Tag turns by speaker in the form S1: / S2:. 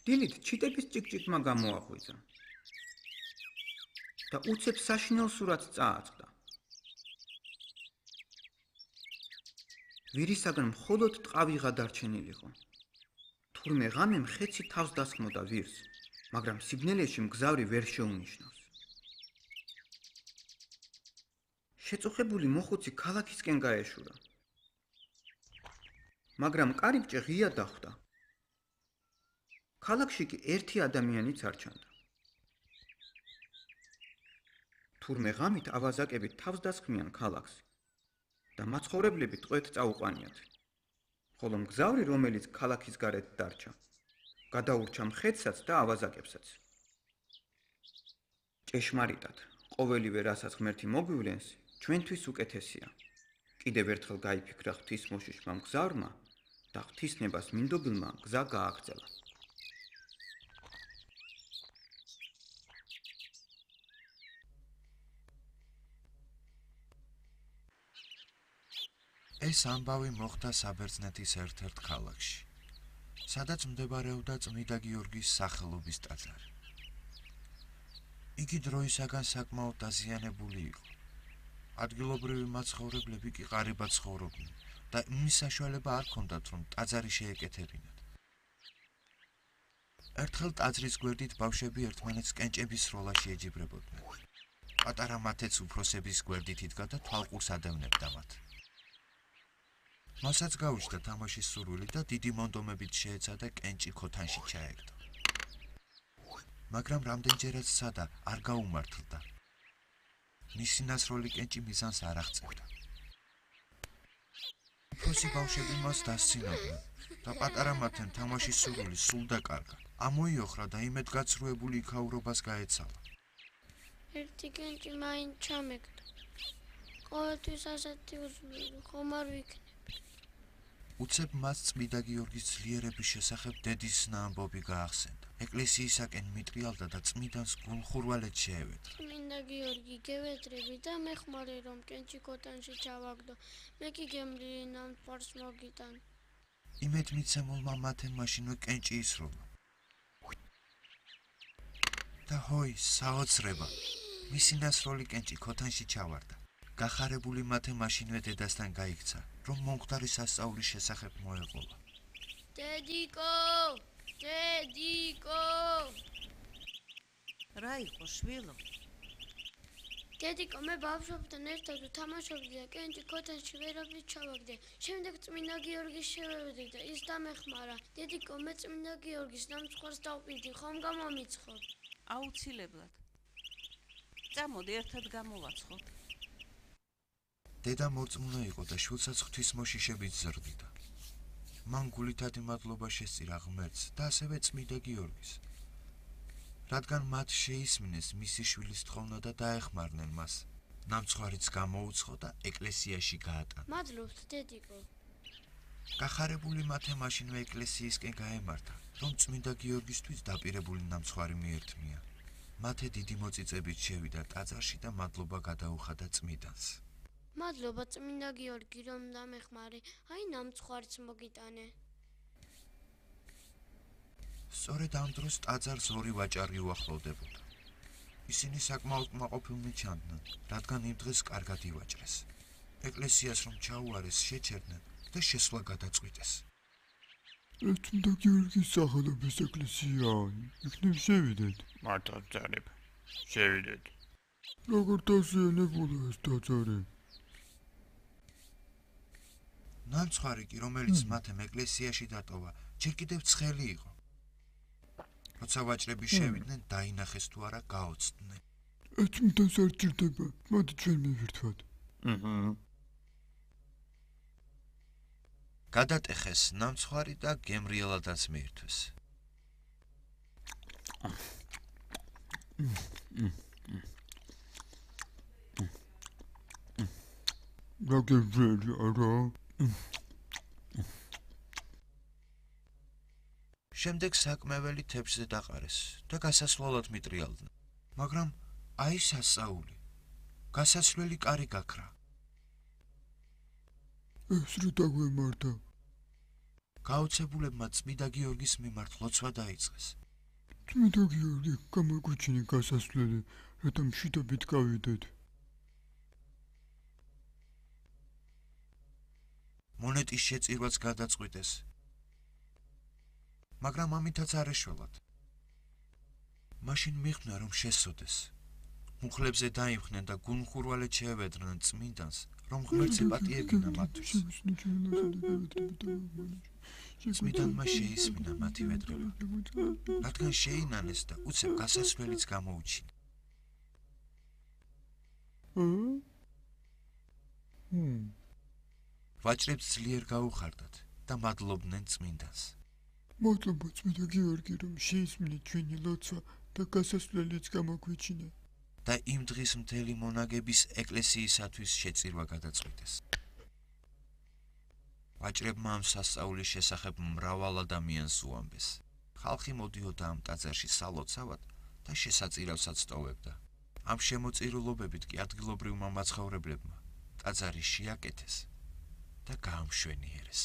S1: დილით ჩიტების ჭიკჭიკმა გამოაღვიძა და უცებ საშინელ სურათს წააწყდა. ვირისაგან მხოლოდ ტყავიღა დარჩენილიყო. თურმე ღამემ ხეცი თავს დასხმოდა ვირს, მაგრამ სიბნელეში მგზავრი ვერ შეუნიშნავს. შეწუხებული მოხუცი ქალაქისკენ გაეშურა. მაგრამ კარიბჭე ღია დახვდა. ქალაქში კი ერთი ადამიანიც არ ჩანდა. თურმე ღამით ავაზაკები თავს დასხმიან ქალაქს და მაცხოვრებლები ტყვედ წაუყვანიათ. ხოლო მგზავრი, რომელიც ქალაქის გარეთ დარჩა, გადაურჩა მხეცსაც და ავაზაკებსაც. ჭეშმარიტად, ყოველივე რასაც ღმერთი მოგვივლენს, ჩვენთვის უკეთესია. კიდევ ერთხელ გაიფიქრა ღვთისმოშიშმა მგზავრმა და ღვთისნებას მინდობილმა გზა გააგრძელა.
S2: ეს ამბავი მოხდა საბერძნეთის ერთ-ერთ ქალაქში, სადაც მდებარეობდა წმიდა გიორგის სახელობის ტაძარი. იგი დროისაგან საკმაოდ დაზიანებული იყო. ადგილობრივი მაცხოვრებლები კი ყარიბად ცხოვრობდნენ და იმის საშუალება არ ჰქონდათ, რომ ტაძარი შეეკეთებინათ. ერთხელ ტაძრის გვერდით ბავშვები ერთმანეთს კენჭების სროლაში ეჯიბრებოდნენ. პატარა მათეც უფროსების გვერდით იდგა და თვალყურს ადევნებდა მათ. მასაც გაუჩნდა თამაშის სურვილი და დიდი მონდომებით შეეცადა კენჭი ქოთანში ჩაეგდო. მაგრამ რამდენჯერაც სცადა, არ გაუმართლდა. მისი ნასროლი კენჭი მიზანს არ აღწევდა. უფროსი ბავშვები მას დასცინოდნენ და პატარა მათემ თამაშის სურვილი სულ დაკარგა. ამოიოხრა და იმედგაცრუებული იქაურობას გაეცალა.
S3: ერთი კენჭი მაინც ჩამეგდო. ყოველთვის ასეთი უძლური ხომ არ ვიქნები.
S2: უცებ მას წმიდა გიორგის ძლიერების შესახებ დედისნა ამბობი გაახსენდა. ეკლესიისაკენ მიტრიალდა და წმიდანს გულხურვალედ შეევედრა.
S3: წმინდა გიორგი, გევედრები და მე ხმარი რომ კენჭი ქოთანში ჩავაგდო. მე კი გემრიელი ნამტვარს მოგიტან.
S2: იმედმიცემულმა მათემ მაშინვე კენჭი ისროლა. და ჰოი, საოცრება! მისი ნასროლი კენჭი ქოთანში ჩავარდა. გახარებული მათე მაშინვე დედასთან გაიქცა, რომ მომხდარი სასწაულის შესახებ მოეყოლა.
S3: დედიკო! დედიკო!
S4: რა იყო, შვილო?
S3: დედიკო, მე ბავშვებთან ერთად ვთამაშობდი და კენჭი ქოთანში ვერაფრით ჩავაგდე. შემდეგ წმინდა გიორგის შევევედრე და ის დამეხმარა. დედიკო, მე წმინდა გიორგის ნამცხვარს დავყიდი, ხომ გამომიცხობ?
S4: აუცილებლად. წამოდი, ერთად გამოვაცხოთ.
S2: დედა მორწმუნე იყო და შვილსაც ღვთისმოშიშებით ზრდიდა. მან გულითადი მადლობა შესწირა ღმერთს და ასევე წმიდა გიორგის, რადგან მათ შეისმინეს მისი შვილის თხოვნა და დაეხმარნენ მას. ნამცხვარიც გამოუცხო და ეკლესიაში გაატანა.
S3: მადლობთ, დედიკო.
S2: გახარებული მათე მაშინვე ეკლესიისკენ გაემართა, რომ წმინდა გიორგისთვის დაპირებული ნამცხვარი მიერთმია. მათე დიდი მოწიწებით შევიდა ტაძარში და მადლობა გადაუხადა წმიდანს.
S3: მადლობა წმინდა გიორგი, რომ დამეხმარე. აი ნამცხვარიც მოგიტანე.
S2: სწორედ ამ დროს ტაძარს ორი ვაჭარი უახლოვდებოდა. ისინი საკმაოდ კმაყოფილნი ჩანდნენ, რადგან იმ დღეს კარგად ივაჭრეს. ეკლესიას რომ ჩაუარეს, შეჩერდნენ და შესვლა გადაწყვიტეს.
S5: წმინდა გიორგის სახელობის ეკლესიაა, იქნებ შევიდეთ.
S6: მართალ ძარებ, შევიდეთ.
S5: როგორ დაზიანებულა ეს ტაძარი?
S2: ნამცხვარი კი, რომელიც მათემ ეკლესიაში დატოვა, ჯერ კიდევ ცხელი იყო. როცა ვაჭრები შევიდნენ, დაინახეს თუ არა გაოცდნენ.
S5: წმინდანს არ ჭირდება, მოდი ჩვენ მივირთვათ.
S2: გადატეხეს ნამცხვარი და გემრიელადაც მიირთვეს.
S5: რა გემრიელი არა?
S2: შემდეგ საკმეველი თებსზე დაყარეს და გასასვლელად მიტრიალდნენ. მაგრამ აი სასწაული. გასასვლელი კარი გაქრა.
S5: ეს რა დაგვემართა?
S2: გაოცებულებმა წმიდა გიორგის მიმართ ლოცვა დაიწყეს.
S5: წმინდა გიორგი, გამოგვიჩინე გასასვლელი, რათა მშვიდობით გავიდეთ.
S2: მონეტის შეწირვაც გადაწყვიტეს. მაგრამ ამითაც არ ეშველათ. მაშინ მიხვნა, რომ შესოდეს. მუხლებზე დაიმხნენ და გულმხურვალედ შეევედრნენ წმინდანს, რომ ღმერთს ეპატიებინა მათთვის. წმინდანმა შეისმინა მათი ვედრება, რადგან შეინანეს და უცებ გასასვლელიც გამოუჩინა. ვაჭრებს ძლიერ გაუხარდათ და მადლობდნენ წმინდანს.
S5: მადლობა წმინდა გიორგი, რომ შეისმინეთ ჩვენი ლოცვა და გასასვლელიც გამოგვიჩინა.
S2: და იმ დღის მთელი მონაგების ეკლესიისათვის შეწირვა გადაწყვიტეს. ვაჭრებმა ამ სასწაულის შესახებ მრავალ ადამიანს უამბეს. ხალხი მოდიოდა ამ ტაძარში სალოცავად და შესაწირავსაც ტოვებდა. ამ შემოწირულობებით კი ადგილობრივმა მაცხოვრებლებმა ტაძარი შეაკეთეს და გაამშვენიერეს.